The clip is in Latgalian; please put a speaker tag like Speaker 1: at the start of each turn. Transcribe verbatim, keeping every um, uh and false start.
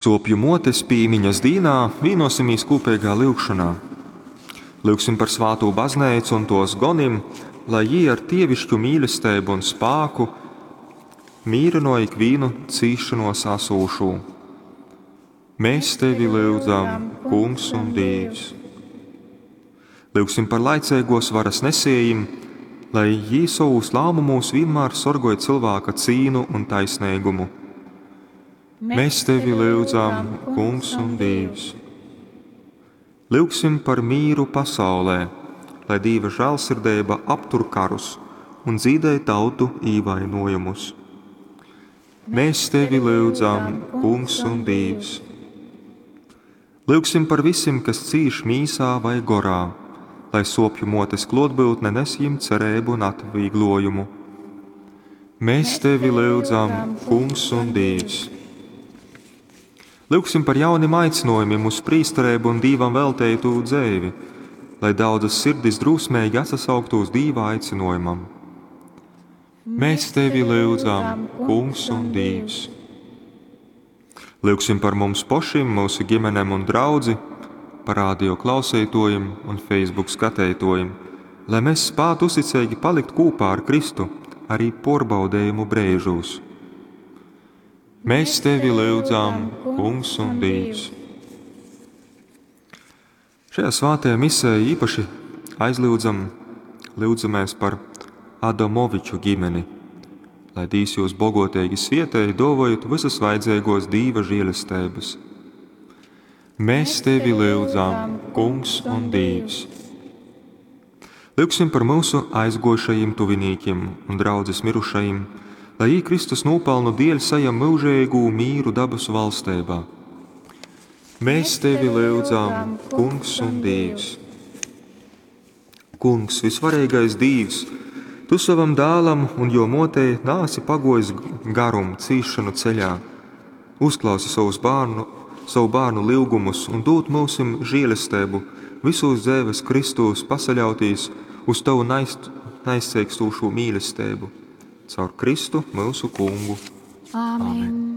Speaker 1: Sōpju mōtes pīmiņas dīnā vīnosimīs kūpeigā lyugšonā. Lyugsim par svātū bazneicu un tōs gonim, lai jī ar dievišķu mīlesteibu un spāku mīrynoj ikvīnu cīsšonōs asūšū. Mēs tevi lyudzam, Kungs un Dīvs. Lyugsim par laiceigōs varas nesiejim, lai jī sovūs lāmumūs vienmēr sorgoj cylvāka cīnu un taisneigumu. Mēs tevi lyudzam, Kungs un Dīvs. Lyugsim par mīru pasaulē, lai Dīva žēlsirdeiba aptur karus un dzīdej tautu īvainojumus. Mēs tevi lyudzam, Kungs un Dīvs. Lyugsim par visim, kas cīš mīsā vai gorā, lai sōpju mōtes klōtbyutne nes jim cereibu un atvieglojumu. Mēs tevi lyudzam, Kungs un Dīvs. Lyugsim par jaunim aicinojumim uz prīstereibu un Dīvam velteitu dzeivi, lai daudzas sirdis drūsmeigi atsasauktu uz Dīva aicinojumam. Mēs tevi lyudzam, Kungs un Dīvs. Lyugsim par mums pošim, mūsu ģimenēm un draudzi, par radio klausītājiem un Facebook skatītājiem, lai mēs spētu uzticīgi palikt kopā ar Kristu arī porbaudējumu brīžos. Mēs tevi lyudzam, Kungs un Dīvs. Šajā svētajā misē īpaši aizlyudzam, lyudzamies par Adamoviču ģimeni, lai Dīvs jūs bogotīgi svietēj, dovojot visas vajadzīgos Dīva žēlestības. Mēs tevi lyudzam, Kungs un Dīvs. Lyugsim par mūsu aizgojušajiem tuvinīkiem un draudzes mirušajiem, lai jī Kristus nopelnu dēļ sajam mūžīgu mīru dabas valstībā. Mēs tevi lyudzam, Kungs un Dīvs. Kungs, visvarīgais Dīvs, tu savam dēlam un jo motei nāsi pagojis garum cīšanu ceļā. Uzklausi savus bērnu, savu bērnu lūgumus un dod mūsim žēlestību visos dzīves Kristūs pasaļautīs uz tavu naiz, naizceikstūšo mīlestību. Caur Kristu mūsu kungu.
Speaker 2: Āmen.